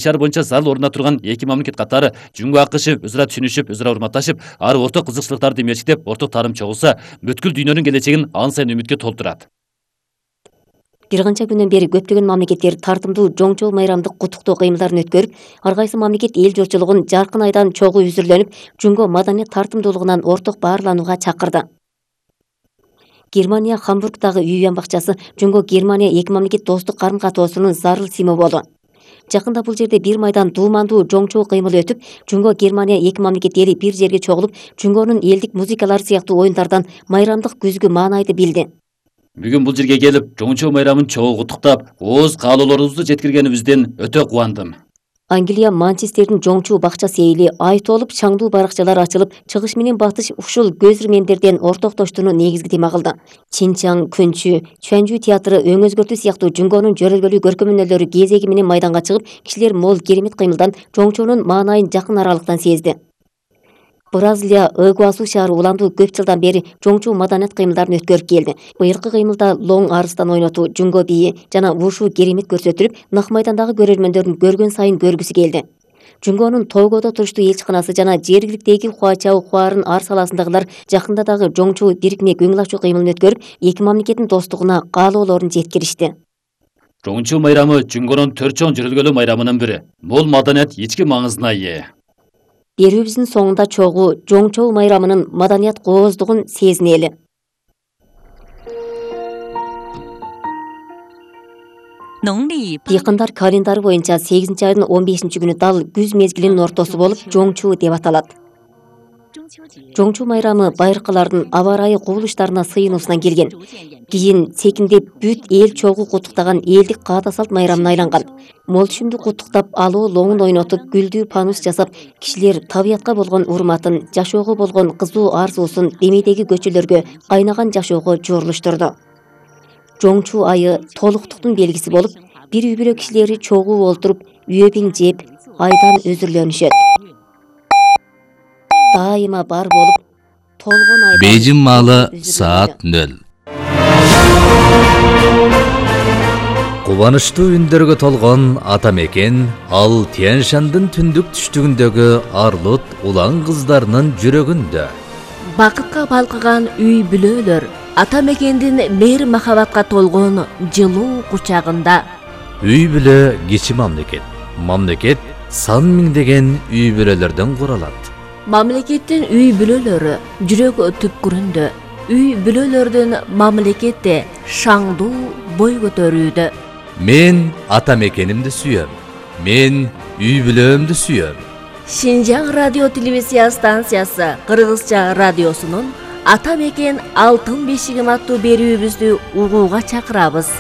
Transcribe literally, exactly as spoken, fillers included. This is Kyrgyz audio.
шаар боюнча зарыл орнуна турган эки мамлекет катары Жүнгө АКШ өз ара түшүнүшүп, өз ара урматташып, ар орток кызыкчылыктарды мерчиктеп, орток таарым чогулса, бүткүл дүйнөнүн келечегин ан сайын үмүткө толтурат. Бир канча күндөн бери көптөгөн мамлекеттер тартымдуу жоңчол майрамдык куттуктоо кыймылдарын өткөрүп, ар кайсы мамлекет эл журтчулугун жаркын айдан чогуу үзүрлөнүп, Жүнгө маданият тартымдуулугунан орток баарланууга чакырды. Германия Хамбургдагы үй уян бакчасы Жүнгө Германия эки мамлекет достук карым-катоосунун зарыл символу. Жакында бул жерде бир майдан дуумандуу жоңчоо кыймыл өтүп, Жүнгө Германия эки мамлекет эли бир жерге чогулуп, Жүнгөнүн элдик музыкалары сыяктуу оюндардан майрамдык күзгү маанайды билди. Бүгүн бул жерге келип, жоңчоо майрамын чогуу куттуктап, ооз каалоолорубузду жеткиргенибизден өтө кубандым. Англия Манчестердин жоңчуу бакча сейили ай толуп, чаңдуу баракчалар ачылып, чыгыш менен батыш ушул көз ирмемдерден ортоктоштууну негизги тема кылды. Чинчаң, Көнчү, Чүанжүү театры, Өң өзгөртүү сыяктуу Жүнгөнүн жөрөлгөлүү көркөмөнөлөрү кезеги менен майданга чыгып, кишилер мол керемет кыймылдан жоңчоонун маанайын жакын аралыктан сезди. Бразилия Ыгуасу шаары уландуу көп жылдан бери жоңчуу маданият кыймылдарын өткөрүп келди. Быйылкы кыймылда лоң арыстан ойнотуу, жүнгө бийи жана вушу керемет көрсөтүлүп, нак майдандагы көрөрмөндөрдүн көргөн сайын көргүсү келди. Жүнгөнүн Тогодо туруштуу элчиканасы жана жергиликтеги Хуачао Хуарын ар саласындагылар жакында дагы жоңчуу дирикмек өң ачуу кыймылын өткөрүп, эки мамлекеттин достугуна каалоолорун жеткиришти. Жоңчуу майрамы Жүнгөнүн төрт чоң жөрөлгөлүү майрамынын бири. Бул маданият ички маңызына ээ. Берүүбүздүн соңунда чогуу жоңчоо майрамынын маданият кооздугун сезинели. Дыйкандар календары боюнча сегизинчи айдын он бешинчи күнү дал күз мезгилинин ортосу болуп, жоңчуу деп аталат. Жоңчуу майрамы байыркалардын аба ырайы кубулуштарына сыйынуусунан келген. Кийин секиндеп бүт эл чогуу куттуктаган элдик каада салт майрамына айланган. Мол түшүмдү куттуктап, алуу лоңун ойнотуп, гүлдүү панус жасап, кишилер табиятка болгон урматын, жашоого болгон кызуу арзуусун демейдеги көчөлөргө, кайнаган жашоого жорулуштурду. Жоңчуу айы толуктуктун белгиси болуп, бир үй бүлө кишилери чогуу олтуруп, үйөбиң жеп, айдан өзүрлөнүшөт. Дайыма бар болуп, толгон айдан Бейжин маалы саат нөл. Кубанычтуу үндөргө толгон ата мекен ал Тянь-Шандын түндүк түштүгүндөгү арлут улан кыздарынын жүрөгүндө. Бакытка балкыган үй бүлөлөр ата мекендин мейир махабатка толгон жылуу кучагында. Үй бүлө кичи мамлекет. Мамлекет сан миңдеген үй бүлөлөрдөн куралат. Мамлекеттин үй бүлөлөрү жүрөк түпкүрүндө. Үй бүлөлөрдүн мамлекетте шаңдуу бой көтөрүүдө. Мен ата мекенимди сүйөм. Мен үй бүлөмдү сүйөм. Шинжаң радио телевизия станциясы Кыргызча радиосунун Ата мекен алтын бешигим аттуу берүүбүздү угууга чакырабыз.